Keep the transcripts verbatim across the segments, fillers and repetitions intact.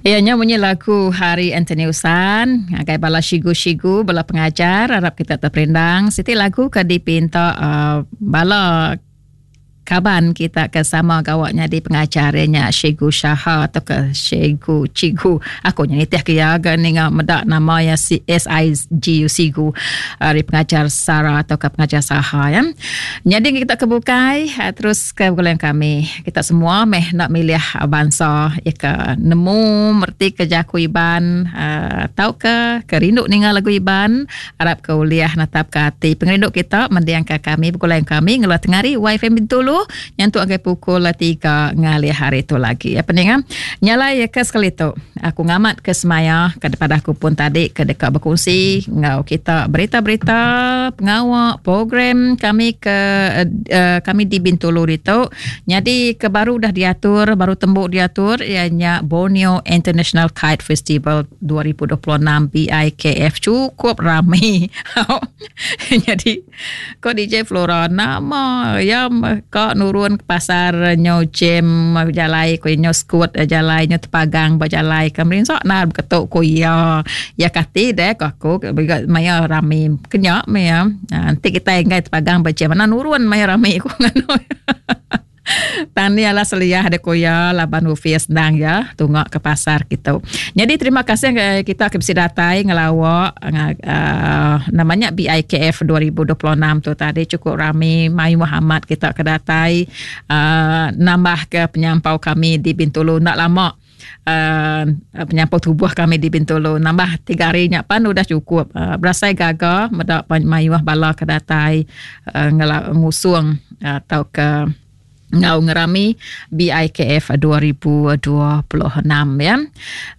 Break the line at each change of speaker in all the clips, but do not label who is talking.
Iya nya munyi lagu Hari Anthony Usan ngagai bala sigu-sigu bala pengajar arap kita terperindang siti lagu ke dipinta uh, bala kaban kita ke sama gawa nyadi pengajar iya nya Cikgu Syaha atau ke Cikgu Cigu aku nya nitih ke iya ga ninga meda nama iya S I G U Sigu ari pengajar Sara atau ke pengajar Saha ya. Nyadi kita ke bukai terus ke begulai kami kita semua meh nak milih bansa ya ke nemu merti ke jaku Iban atau ke ke rindu ninga lagu Iban arap ke uliah netap ke ati pengerindu kita mendiang ke kami begulai kami ngeluar tengari Y F M Bintulu nyentuk angkai pukul tiga ngalih hari tu lagi. Ya peninga nyalai ya ke sekali tu aku ngamat ke semaya ke depan aku pun tadi ke dekat berkongsi ngau kita berita-berita pengawak program kami ke uh, kami di Bintulu itu. Jadi ke baru dah diatur baru tembuk diatur ianya Borneo International Kite Festival dua ribu dua puluh enam B I K F cukup ramai. Jadi ko D J Flora nama ya ka nurun ke pasar nyo jam jalai ko nyo skut jalai nyo tepagang berjalai ke merinsak nah ketuk ko ya ya kati deh ko aku maya rami kenyak maya nanti kita enggai tepagang berjam mana nurun maya rami ko ngano. Tani ala seliah ada koya laban ofis senang ya tungak ke pasar kita. Jadi terima kasih kita ke bisi datai ngelawak uh, namanya B I K F dua ribu dua puluh enam tu tadi cukup rami Mai Muhammad kita ke datai uh, nambah ke penyampau kami di Bintulu nak lama. Uh, penyampau tubuh kami di Bintulu nambah tiga hari nya pan udah cukup uh, berasai gaga medak mayuh bala ke datai uh, ngela, ngusung atau uh, ke ngau ngerami B I K F dua ribu dua puluh enam ya.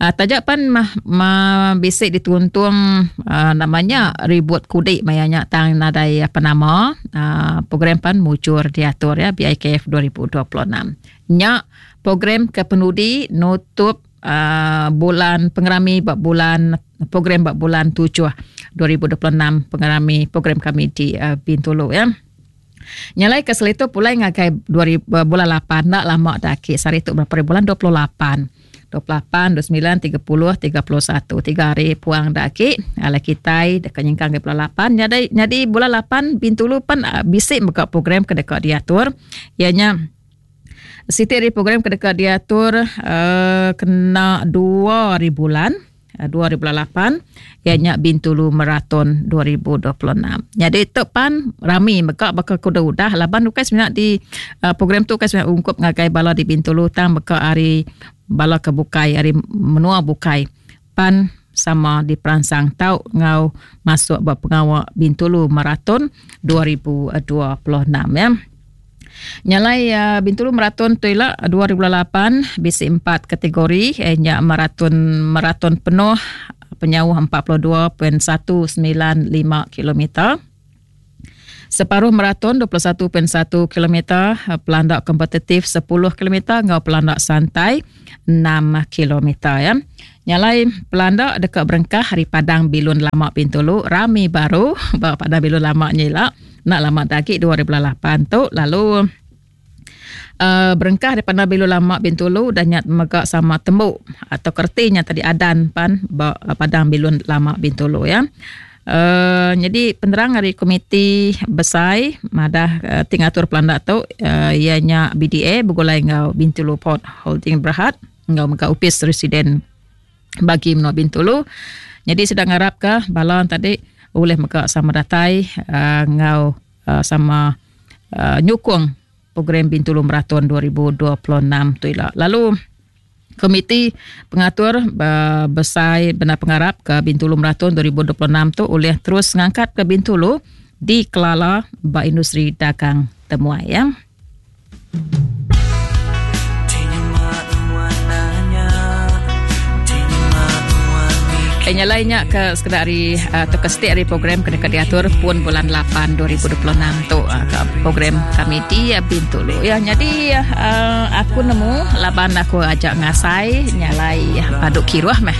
Uh, tajak pan mah, ma bisik dituntung uh, namanya ribut kudik mayanya tang nadai apa nama uh, program pan mujur diatur ya B I K F dua ribu dua puluh enam. Nya program ke penudi nutup uh, bulan pengerami bab bulan program bab bulan tujuh dua ribu dua puluh enam pengerami program kami di uh, Bintulu ya. Nyalai ke selitu pulai ngagai dua ribu, bulan lapan nak lama dah ki sehari tu berapa bulan dua puluh lapan dua puluh lapan dua puluh sembilan tiga puluh tiga puluh satu tiga hari puang dah ki ala kitai dekat nyingkang ke bulan lapan jadi jadi bulan lapan Bintulu pan bisik buka program ke dekat diatur ianya siti hari program ke dekat diatur uh, kena dua hari bulan dua ribu lapan ianya Bintulu Marathon dua ribu dua puluh enam. Jadi tu pan rami meka baka kuda udah laban bukan sebenarnya di uh, program tu kan sebenarnya ungkup ngagai bala di Bintulu tang meka hari bala ke bukai hari menua bukai pan sama di peransang tau ngau masuk buat pengawak Bintulu Marathon dua ribu dua puluh enam ya. Nyalai uh, Bintulu Marathon tu ila dua ribu lapan bisi empat kategori eh, nya maraton maraton penuh penyauh empat puluh dua perpuluhan satu sembilan lima kilometer. Separuh maraton dua puluh satu perpuluhan satu kilometer, pelandak kompetitif sepuluh kilometer ngau pelandak santai enam kilometer ya. Nyalai pelandak dekat berengkah hari Padang Bilun Lama Bintulu rami baru ba Padang Bilun Lama nyila nak lama dagi dua ribu lapan tu lalu uh, berengkah daripada Bilun Lama Bintulu dan nyat megak sama tembuk atau kertinya tadi adan pan ba Padang Bilun Lama Bintulu ya. Uh, jadi penerang dari komiti besai madah uh, tingatur pelandak tu uh, ianya B D A bergulai ngau Bintulu Port Holding Berhad ngau megak upis residen bagi menua Bintulu. Jadi sedang harap ke balon tadi boleh megak sama datai uh, ngau uh, sama uh, nyukung program Bintulu Marathon dua ribu dua puluh enam tu ila. Lalu komiti pengatur uh, besai benar pengarap ke Bintulu Marathon dua ribu dua puluh enam tu oleh terus ngangkat ke Bintulu di Kelala ba industri dagang temuai ya. Nyalainya ke sekedar hari atau ke setiap hari program kena diatur pun bulan lapan dua ribu dua puluh enam tu ke program kami di Bintulu. Ya jadi uh, aku nemu laban aku ajak ngasai nyalai paduk kiruah meh.